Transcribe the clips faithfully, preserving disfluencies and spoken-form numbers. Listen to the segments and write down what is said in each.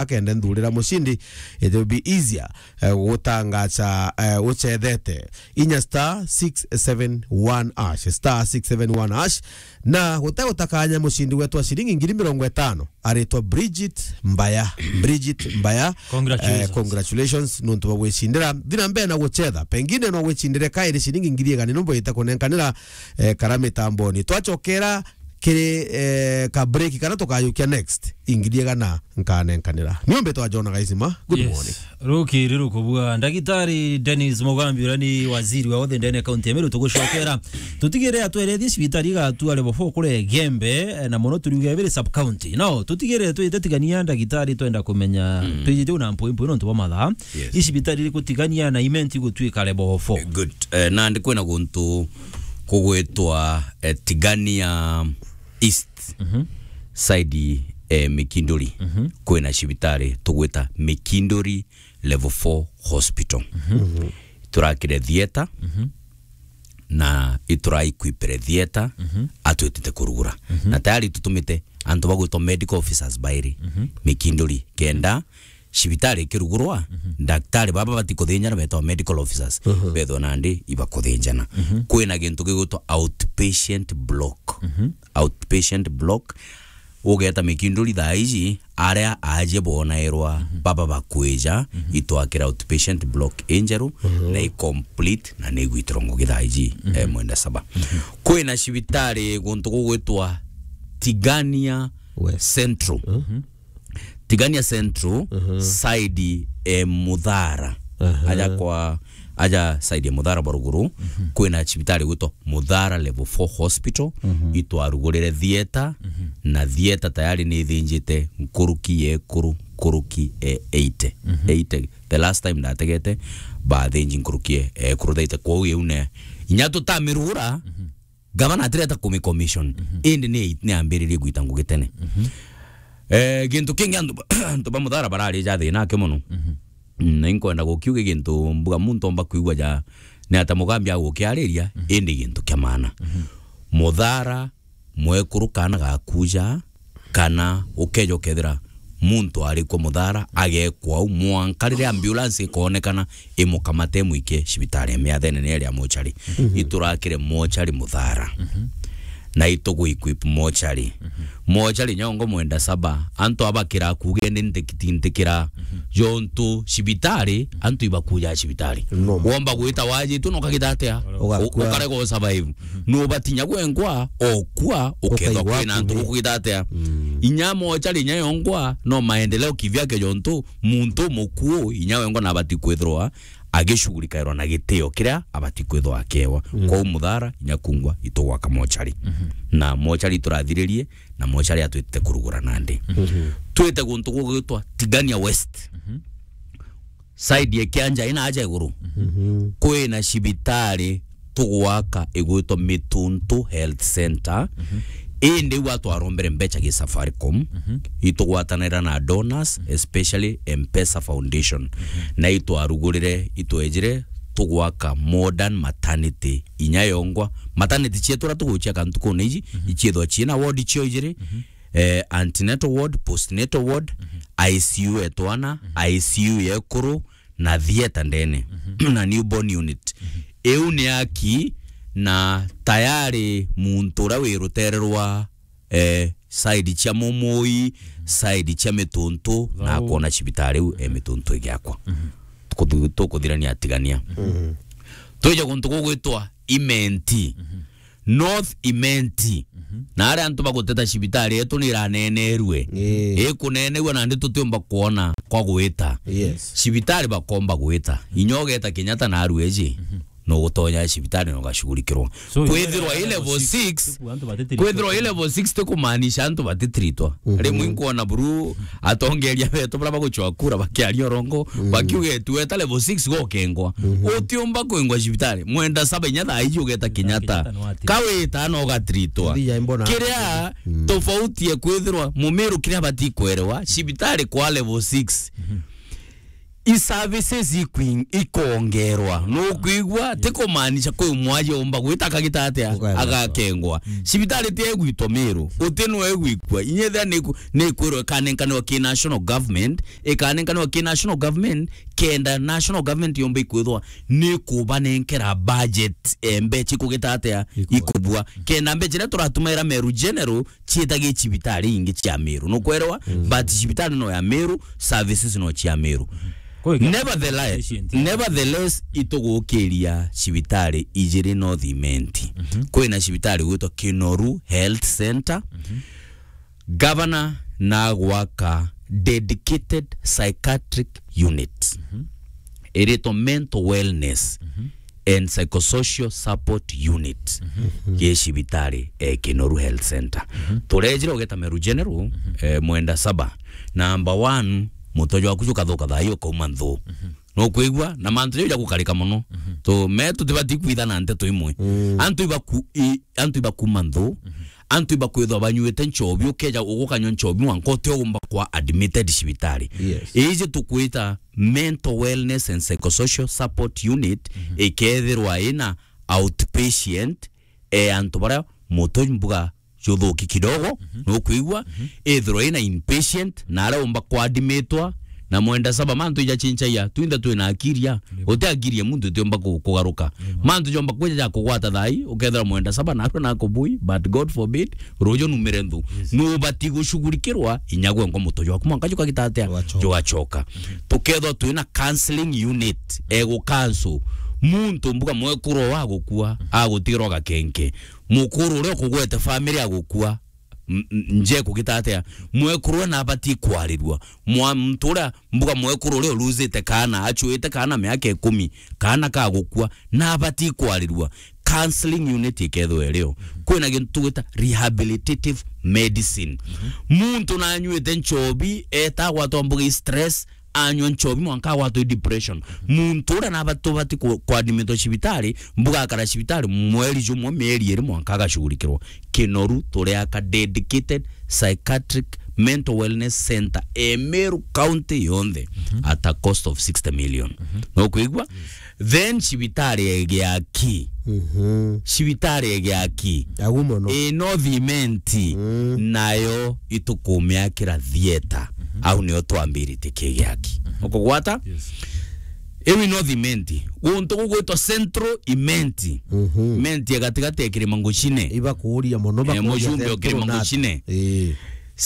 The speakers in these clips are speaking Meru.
akende nthurira mucindi, it will be easier, eh, gutangaca, eh, ucethete. Inya star six seven one hash, star six seven one hash, na gute gutakanya mucindi wetu wa ciringi ngiri mirongo itano aritwa Bridget Mbaya. Bridget Mbaya, Congratulations. Eh, congratulations nontu bwa gwicindira. Thina mbere na gucetha, pengine no gwicindire kairi ciringi ngiri igana nombo ita kunenkanira, eh, kara mitamboni. Twacokera kiri, eh, ka break kana tukajukia next, ingiri igana nkanenkanira. Niombe twa John Gaisima. Good morning. Rukiri rukubua. Ndagitari Dennis Mugambi, uria ni waziri wa othe ndene kaunti ya Meru, tugucokera. Tutigire atwerethie cibitari igatu level four kure Gembe, eh, na mono turiuge biri sub county. No, tutigire twite Tigania ndagitari, twenda kumenya, mm, twijite una mpui mpui nontu bwa mathaa. Yes. Icibitari iriku Tigania na Imenti gutwika level four? Good. Eh, nandi kwina guntu kugwitwa, eh, Tigania East, mhm, side, eh, Mikinduri, mhm, kwina cibitari tugwita Mikinduri Level four Hospital. Mhm. Turakire theatre, mhm, na ituraequipire theatre, mhm, atwitite kurugura. Mhm. Na tayari tutumite antu bagwitwa medical officers bairi, mhm, Mikinduri, kenda cibitari ikirugurwa, mhm, ndaktari baba bati kuthinjana betwa medical officers, mhm, bethwa nandi ibakuthinjana. Mhm. Kwina gintu gigwitwa outpatient block. Mhm. Outpatient block. Ugeta Mikinduri thaa iji, aria aajie bonairwa, mhm, baba bakwija, mhm, itwakira outpatient block injeru, mhm, na i complete, na ni igwitiro ngugi thaa iji, mhm, eh, mwenda saba. Mhm. Kwina cibitari guntu gugwitwa Tigania West. Central. Mhm. Tigania Central, mhm, side e Muthara. Aha. Aja kwa, aja side ya Muthara bwa ruguru, mhm, kwina cibitari gwitwa Muthara Level four Hospital, mhm, itwarugurire theatre, mhm, na theatre tayari ni ithinjite nkuruki ya ekuru, nkuruki e eighty. Mhm. Eighty. The last time ndategete, bathinji nkuruki e, e ekuru thirty. Kwou iu ne, inya tutamirugura, mhm. Gavana atireta kumicommission. Mhm. Indi ni, ni ambiririe gwita ngugi tene. Mhm. Eh, gintu kingi antu, antu ba Muthara bararija thina aki mono. Mhm. Mm, na inkwenda gukiuga gintu mbuga muntu omba kwigua ja, ni ata Mugambi agukiariria, mhm, indi gintu kia maana. Mhm. Muthara, mwekuru kana gakuja, kana ukeja ukethira muntu ari kwa Muthara, agekwa au, mwanka riria ambulance ikoonekana, imukamate imwikie cibitari ya miathene ni iria mochari. Mhm. Iturakire mochari Muthara. Mhm. Na itugu equip mochari. Mhm. Mochari nyongo mwenda saba, antu abakira kuge ni ntikiti ntikira. Mhm. Jontu cibitari, antu ibakuja cibitari. No. Womba gwita wajitu no kagita atia? Ugakua. U-, ukarega u survive. Mhm. No batinya gwengwa, okua, ukethwa. Ukaigwa kwina antu akugi. Gukugita atia? Mm. Inya mochari inya yongwa, no maendeleo kivyake jontu, muntu mukuu, inya wengwa na abati kwithirwa agicugurikairwa na gitio kiria abati kwithirwa akewa. Mm. Kwou Muthara, inya kungwa, itugwaka mochari. Mhm. Na mochari iturathiririe, na mochari atwitite kurugura nandi. Mhm. Twite guntu gugwitwa Tigania West. Mhm. Side ya Kianja ina aja iguru. Mhm. Kwina cibitari tugwaka igwitwa Mituntu Health Center. Mhm. Indi iu atwarombere mbecha gi Safaricom. Mhm. Itugwatanira na donors, mhm, especially M-Pesa Foundation. Mhm. Na itwarugurire, itwejire tugwaka modern maternity inya yongwa. Maternity cietu ura tugucia kantu kuna iji, mhm, iciethwa ciina ward cio ijiri. Mhm. Eh, antenatal ward, postnatal ward, mhm, I C U ya twana, mhm, I C U ya ekuru, na theatre ndene, mhm, na newborn unit. Mhm. Iu ni aki na tayari muntu uria wi rutere rwa, eh, side cia Mumui, mhm, side cia Mituntu, na akona cibitari iu e Mituntu igiakwa. Mhm. Tukuthu-, tukuthirania Tigania. Mhm. Twije guntu gugwitwa Imenti. Mhm. North Imenti. Mhm. Na aria antu baguteta cibitari yetu ni iranenerue. Ii. Ikunenegua nandi tutiumba kwona kwa gwita. Yes. Cibitari bakomba gwita. Inya ugeta Kenyatta na arueji. Mhm. No gutonya cibitari na ugashugurikirwa. So, kwithirwa i level six, kwithirwa i level six tikumaanisha antu batitritwa. Mhm. Rimwe inkwona buru atongeria betu bara bagucwa kura bakiaria urongo, mm, bakiuga etu weta level six gokengwa. Mhm. Utiumba kwengwa cibitari. Mwenda saba inya thaa iji ugeta Kenyatta. Kenyatta no ati. Kawita no gatritwa. Kiria, mm, tofauti ya kwithirwa Mumiru kiria bati kwerewa, cibitari kwa level six. Mhm. i services ikwing-, ikongerwa. Nukwigua? Ti kumaanisha kwi mwaji umba gwita akagita atia? Ukagitwa. Agakengwa. Cibitari ti egwitwa Miru. Uti no egwikua. Inyethia ni ku-, ni kwirwa ikanenkanwa ki national government, ikanenkanwa ki national government, kenda national government yomba ikwithwa ni kubanenkera budget, eh, mbecha ikugita atia? Ikubua. Ikubua. Kenda mbecha iria turatumaira Meru General ciitagi cibitari ingi cia Meru. Nukwerewa? Mm. But cibitari no ya Meru, services no cia Meru. Kwa hiyo, nevertheless, patient, nevertheless, itugukiria cibitari ijiri North Imenti. Mhm. Kwina cibitari gwitwa Kinoru Health Center. Mhm. Governor na gwaka dedicated psychiatric unit. Mhm. Iritwa mental wellness, mhm, and psychosocial support unit, mhm, gi cibitari, eh, Kinoru Health Center. Mhm. Turejire ugeta Meru General, mhm, eh, mwenda saba. Number one, mutojo waku jukathuka thaai ukauma nthu. Mhm. Nukwigua? Na mantu jau jagukarika mono. Mhm. Tu, me tutibati kwithana nteto imwe. Mm. Antu ibaku-, i-, antu ibakuma nthu, mhm, antu ibakwithwa banyuite nchobi, ukeja ugukanywa nchobi mwanka utiogumba kwa admitted cibitari. Yes. Iji tukwita mental wellness and psychosocial support unit, mhm, ikethirwa ina outpatient, e antu baria mutu mbuga juthuki kidogo, mhm, nukwigua, mhm, ithirwa ina inpatient, na aria umba kwadmitwa, na mwenda saba mantu ijachinchagia, twinthe twina akiria. Yep. Uti akiria muntu utiumba ku-, kugaruka. Yep. Mantu jomba kwija ja kugwata thaai, ukethira mwenda saba narua nakubui, but God forbid, ruju numire nthu. Yes. Nubati gushughulikirwa, inya gwe ngo mutu jwaku mwanka jukagita atia? Jugachoka. Jugachoka. Mhm. Tukethwa twina counseling unit, egu counsel. Muntu mbuga mwekuru agukua, mhm, agutigirwa gakenke. Mukuru uria ukugwete family agukua, m-, m-, nje kugita atia? Mwekuru uria nabati kwarirua. Mwa-, muntu uria mbuga mwekuru uria uluzite kaana, achuite kaana miaka ikumi, kaana kagukua, nabati kwarirua. Counseling unit ikethwa irio. Kwina gintu tugwita rehabilitative medicine. Mhm. Muntu nanyuite nchobi, eta gwatwa mbuga i stress, anywa nchobi mwanka agwatwa i depression. Muntu uria naba tubati ku-, kwadmitwa cibitari, mbuga akara cibitari mweri jumwe, mieri iri mwanka agashughulikirwa. Kinoru turiaka dedicated psychiatric mental wellness center e Meru County yonthe, mhm, at a cost of sixty million. Mhm. Nukwigua? Yes. Then cibitari egiaki. Mhm. Cibitari egiaki. Agu mono. E North Imenti, mm, nayo itukumiakira theater. Mhm. Au nio twambiritie kigiaki. Mhm. Ukugwata? Yes. Iu i North Imenti. Guntu gugwitwa Central Imenti. Mhm. Imenti ya gatigati ya Kirima Nguchine. Ibakuuria mono, eh, bakuuria mucumbi o Central Kirima nata? Nguchine. Eh.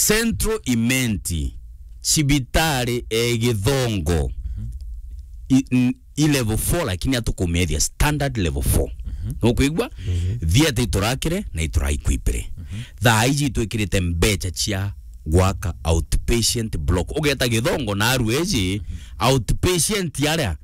Central Imenti, cibitari e Githongo. Mhm. I, n-, i level four, lakini atukumethia standard level four. Mhm. Nukwigua? Mhm. Theater iturakire na ituraikwipire. Mhm. Thaa iji itwikirite mbecha cia gwaka outpatient block. Ugeta Githongo na aru eji, mhm, outpatient aria,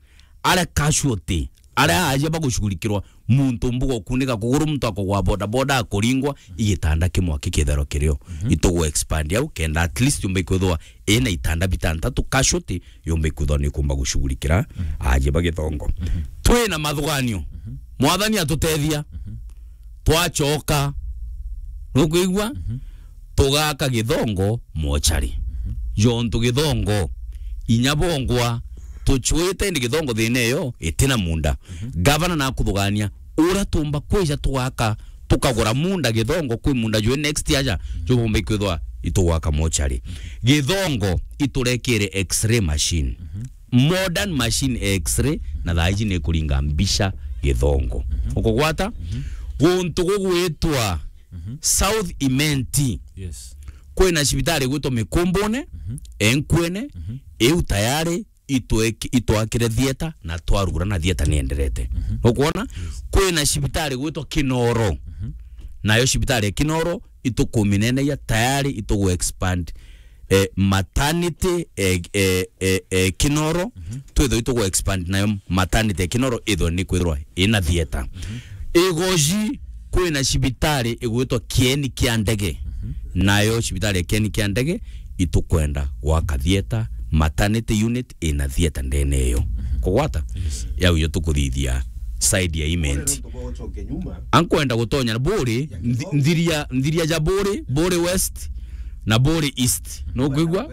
aria casualty, aria aja bagushughulikirwa, muntu mbuga ukunika kuguru, muntu akugwa boda boda akuringwa, igitanda kimwe kikitherwa kirio. Mhm. Itugu expand au, kenda at least yumba ikwithwa ina itanda bitantatu, casualty yumba ikwithwa ni kumba gushughulikira, mhm, aja ba Githongo. Mhm. Twina mathuganio. Mhm. Mwathani atutethia. Mhm. Twachoka. Nukwigua? Mhm. Tugaka Githongo mochari. Mhm. Jontu Githongo, inya bongwa, tuchwite indi Githongo thina iyo itina munda. Mhm. Gavana nakuthugania, uria tumba kwija tugaka, tukagura munda Githongo, kwi munda jwi next aja, mhm, jubumba ikwithwa itugwaka mochari. Mhm. Githongo iturekire X-ray machine. Mhm. Modern machine X-ray, na thaa iji ni kuringa mbica Githongo. Mhm. Ukugwata? Mhm. Guntu gugwitwa, mhm, South Imenti. Yes. Kwina cibitari gwitwa Mikumbune, mhm, Enkwene, mhm, iu tayari itwek-, itwakire theater na twarugura na theater ni enderete. Mhm. Nukwona? Yes. Kwina cibitari gwitwa Kinoro. Mhm. Nayo cibitari ya Kinoro itukumineneia tayari itugu expand, eh, maternity, eh, eh, eh, eh, Kinoro, mhm, twithwe itugu expand nayo maternity ya Kinoro ithwe ni kwithirwa ina theater. Mhm. Igoji kwina cibitari igwitwa Kieni kia Ndege. Mhm. Nayo cibitari ya Kieni kia Ndege itukwenda gwaka theater, maternity unit ina theater ndene iyo. Mhm. Kugwata? Yes. Yau yo tukuthithia side ya Imenti. Ankwenda gutonya na Buri, nthi-, nthiria, nthiria ja Buri, Buri West na Buri East. Nukwigua?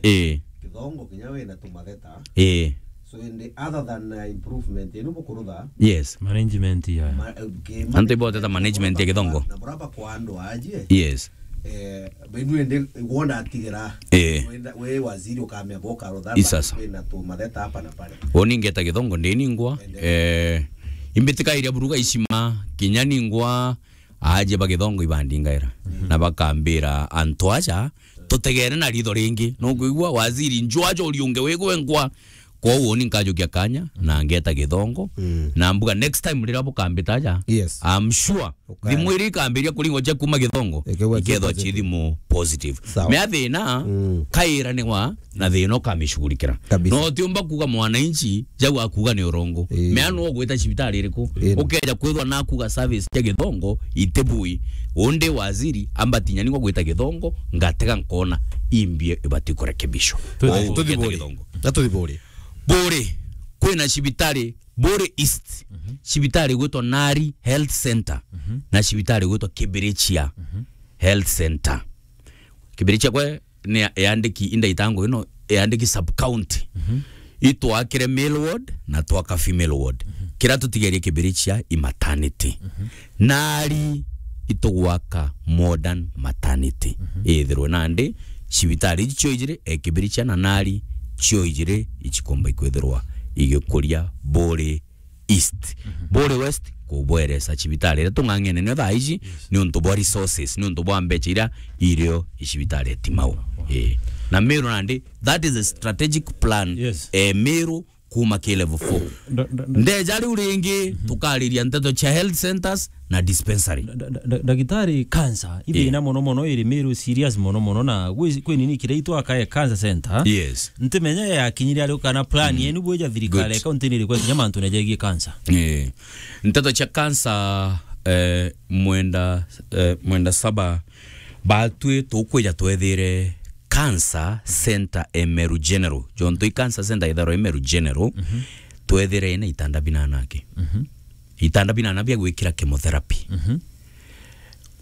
Eh. Githongo kinya wina tumatheta. Eh. So, in the other than, uh, improvement, inu bukurutha. Yes. Management ya. Ma-, eh, ke-, Antu iboteta management ya Githongo. Na buraba kwa andu aje. Yes. Eh, benu ende wona atigera. Eh. Wenda, we waziri ukamea boka rutha. Isasa. Wina tumatheta hapa na pale. Oni ngeta Githongo ndini ngwa. Ende. Eh, imbitika iria buruga icima, kinya ningwa, aje ba Githongo ibandingaira. Mm. Na bakambira antu aja, tutegere na ritho ringi. Nukwigua waziri njwajo uriunge wigwe nkwa. Kwou ni nkajukia kanya, na ngeta Githongo. Mm. Na mbuga next time riria bukambita aja, Yes. I'm sure. Ukaya. Thimu iri ikambiria kuringwa cia kuma Githongo, Ikethwa ci ikethwa positive. Ci thimu positive. Sawa. Mea thina, Mm. kaira ni wa, na thina ukamishughulikira. Kabisa. No utiumba kuga mwananchi, jau akuga ni urongo. Ii. Mea no gwita cibitari iriku? Ii. Ukeja kwithwa na kuga service cia Githongo, itibui. Undi waziri, ambatinya ningwa gwita Githongo, ngatega nkona imbie ibati kurekebishwa. Tuthi-, Kwou tuthi gwita Buri. Githongo. Na tuthi Buri. Buri, kwina cibitari, Buri East, Mhm. cibitari gwitwa Nari Health Center, Mhm. na cibitari gwitwa Kibirichia Mhm. Health Center. Kibirichia kwe ni ya-, yandiki inda itango ino, yandiki sub county. Mhm. Itwakire male ward na twaka female ward. Mhm. Kira tutigerie Kibirichia i maternity. Mhm. Nari itugwaka modern maternity. Mhm. Ithirwe nandi cibitari ici cio ijiri, e Kibirichia na Nari cio ijiri, ichikomba ikwithirwa igikuria Buri East. Mhm. Buri West, kubweresa cibitari iria tung'ang'ene nio thaa iji, Yes. ni untu bwa resources, ni untu bwa mbecha iria irio icibitari ya Timau. Wow. Eh. Na Meru nandi, that is a strategic plan. Yes. Eh, Meru kuma ki level four. Nda-, nda-, nda-, Ndeja riu ringi, Mhm. tukariria nteto cia health centers na dispensary. Nda-, nda-, nda-, ndagitari, cancer, ithina Yeah. mono mono iri Meru serious mono mono, na gwi-, kwi nini kiria itwakae cancer center? Yes. Ntimenya yakinyire ari kana plan Mhm. yenu bweja thirikari Good. ya kaunti ni iriku kinya mantu na jegie cancer. Eh. Nteto cia cancer, eh, mwenda, eh, mwenda saba, batwi tukwija twethire cancer center e Meru General. Jontu i cancer center itharwa i Meru General, Mhm. twethire ina itanda binana aki. Mhm. Itanda binana bia gwikira chemotherapy. Mhm.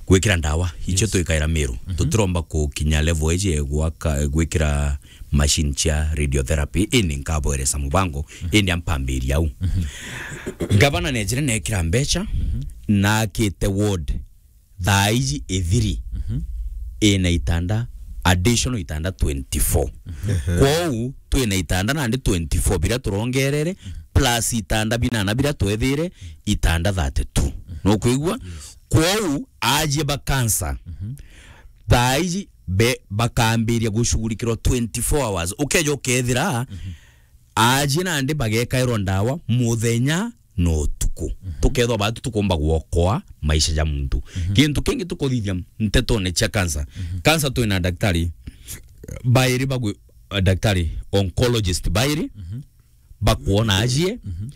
Gwikira ndawa, icio Yes. twikaira Meru. Mhm. Tutiromba kukinya level iji ya gwaka, gwikira machine cia radiotherapy. Indi nkabweresa mubango, Mhm. indi ampambiria au. Mhm. Gavana nejire nekira mbecha, Mhm. na akite ward thaa iji ithiri Mhm. ina itanda, additional itanda twenty-four. Mhm. Kwou twina itanda nandi twenty-four biria turongerere, plus itanda binana biria twethire, itanda thirty-two. Nukwigua? Yes. Kwou ajie ba cancer, Mhm. thaa iji be-, bakambiria gushughulikirwa twenty-four hours. Ukeja ukethira, Mhm. ajie nandi bagekairwa ndawa muthenya na utuku. Mhm. Tukethwa batu tukumba gwokoa maisha ja muntu. Mhm. Kintu kingi tukuthithia ntetone cia cancer. Mhm. Cancer twina daktari bairi bagwi-, daktari oncologist bairi Mhm. bakwona ajie. Mhm.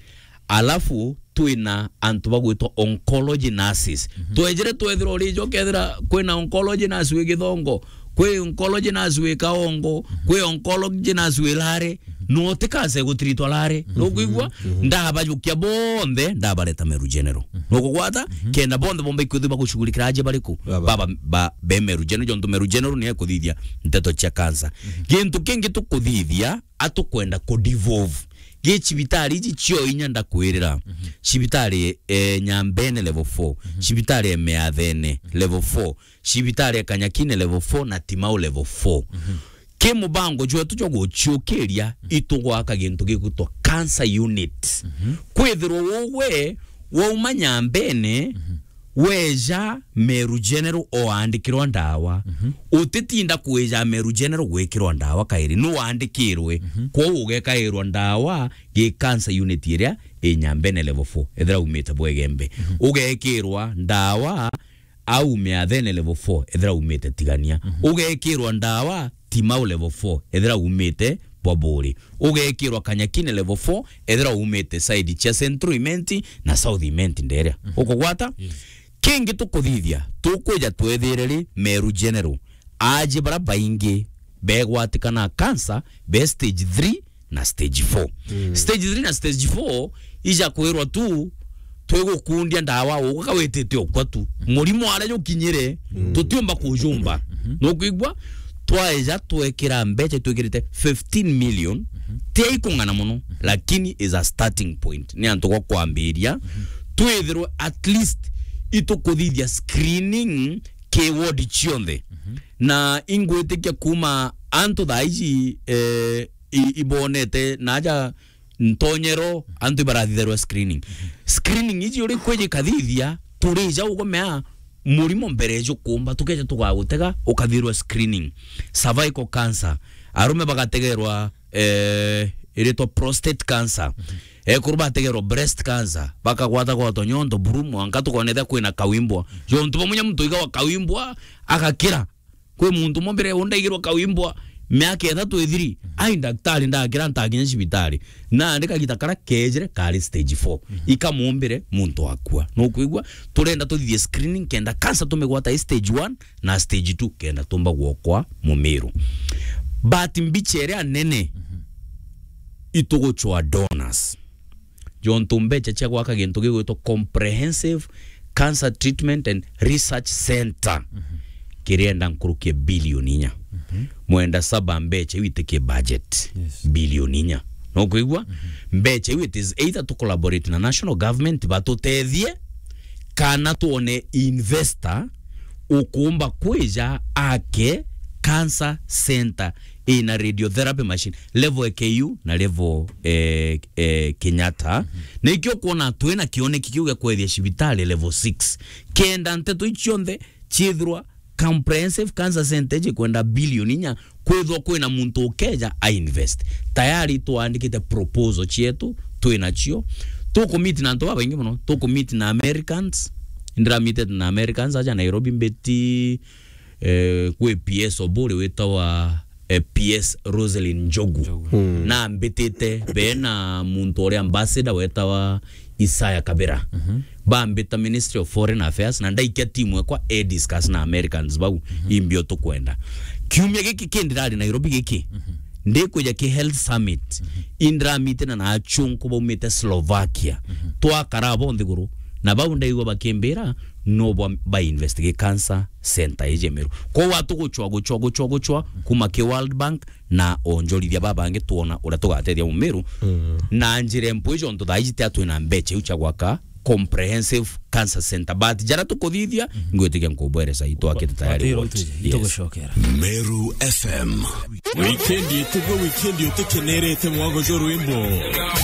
Alafu twina antu bagwitwa oncology nurses. Mhm. Twejire twethira urijo kethira kwina oncology nurse wi Githongo, kwi oncology nurse wi Kaongo, Mhm. kwi oncology nurse wi Lare, Mhm. no ti cancer igutiritwa Lare. Mhm. Nukwigua? Mhm. Ndabajukia bonthe, ndabareta Meru General. Mhm. Nukugwata? Mhm. Kenda bonthe bomba ikwithirwa bagushughulikira aje bariku? Baba. Baba, ba, be Meru General, jontu Meru General ni ekuthithia nteto cia cancer. Mhm. Gintu kingi tukuthithia, atukwenda ku devolve. Gi cibitari iji cio inya ndakwirira. Mhm. Cibitari, eh, Nyambene level four. Mhm. Cibitari ya Meathene Mhm. level four. Cibitari ya Kanyakine level four na Timau level four. Mhm. Ki mubango jwetu jwa guciukiria, Mhm. itugwaka gintu gigwitwa cancer unit. Mhm. Kwithirwa ugwe wauma Nyambene, Mhm. weja Meru General oandikirwa ndawa. Mhm. Utitinda kwija Meru General gwikirwa ndawa kairi, ni wandikirwe. Mhm. Kwou ugekairwa ndawa gi cancer unit iria i Nyambene level four, ethira umite Bwegembe. Mhm. Ugekirwa ndawa au Meathene level four, ethira umite Tigania. Mhm. Ugekirwa ndawa Timau level four, ethira umite Bwaburi. Ugekirwa Kanyakine level four, ethira umite side cia Central Imenti na South Imenti nderia. Mhm. Ukugwata? Yes. Kingi tukuthithia, tukwija twethire ri Meru General, aji bara baingi begwatikana cancer be stage three na stage four. Mm. Stage three na stage four ija kwirwa tu twigukundia ndawa uguka witite okwa tu. Murimo aria jukinyire, Mm. tutiumba kujumba. Mhm. Nukwigua? twaeja twekira mbeca twikirite fifteen million, ti ikung'ana mono, lakini is a starting point. Ni antu gwa kwambiria, twithirwe at least itukuthithia screening ki ward cionthe. Na ingwitikia kuma antu thaa iji, eh, i-, ibonete naja ntonyero, antu ibarathitherwa screening. Screening iji uri kwiji kathithia, turija ugomea murimo mbere jukumba, tukeja tugagutega, ukathirwa screening. Cervical cancer, arume bagategerwa, eh, iritwa prostate cancer. Ekuru bategerwa breast cancer, bakagwata gwato nyondo buru, mwanka tukonetha kwina kawimbwa. Jontu bamunya muntu iga wa kawimbwa, agakira. Kwi muntu umwe mbere undaigirwa kawimbwa miaka ithatu ithiri. Ai, daktari ndakira ntakinya cibitari. Nandi kagita kara kejire kari stage four. Ikamumbire muntu akua. Nukwigua? Turenda tuthithie screening kenda cancer tumigwata i stage one na stage two kenda tumba gwokwa mumiru. But mbicha iria nene ituguchwa donors. Jontu mbecha cia gwaka gintu gigwitwa Comprehensive Cancer Treatment and Research Center, kirienda nkuruki ya bilioni inya. Mwenda saba mbecha iu itikie budget. Yes. Bilioni inya. No kwigua? Mbecha iu, it is either to collaborate na national government batutethie, kana tuone investor ukumba kwija ake cancer center ina radiotherapy machine, level ya K U na level, eh, eh, Kenyatta. Nikio kuona twina kioneki kiu gia kwethia cibitari level six. Kenda nteto icionthe ciithirwa Comprehensive Cancer Center iji kwenda bilioni inya, kwithwa kwina muntu ukeja a invest. Tayari twandikite proposal cietu, twinacio. Tukumiti na antu babaingi mono, tukumiti na Americans. Ndiramitete na Americans aja Nairobi mbiti, eh, kwi P S Oburi witawa, eh, P S Roselyn Njogu. Njogu. Na mbitite be na muntu uria ambassador wetawa Isaiah Kabira. Bambita Ministry of Foreign Affairs na ndaikia timu ekwa e discuss na Americans bau imbio tukwenda. Kiumia giki kindirari Nairobi giki, ndikwija ki Health Summit, indiramitene na achunku baumite Slovakia. Twakara bo nthiguru, na bau ndaigua bakimbira no ba, ba investigate cancer center iji Meru. Kwou atuguchwa, guchwa, guchwa, guchwa, kuma ki World Bank, na onjorithia babangi twona uria tugatethia Mumiru na njira mpwi, jontu thaa iji tia twina mbecha iu cia gwaka Comprehensive Cancer Center. But jara tukuthithia, ngwitikia nkubweresa itwakite tayari. Yes. Itugucokera. Meru F M. Weekend itugwe, weekend utikenerete mwago jo rwimbo.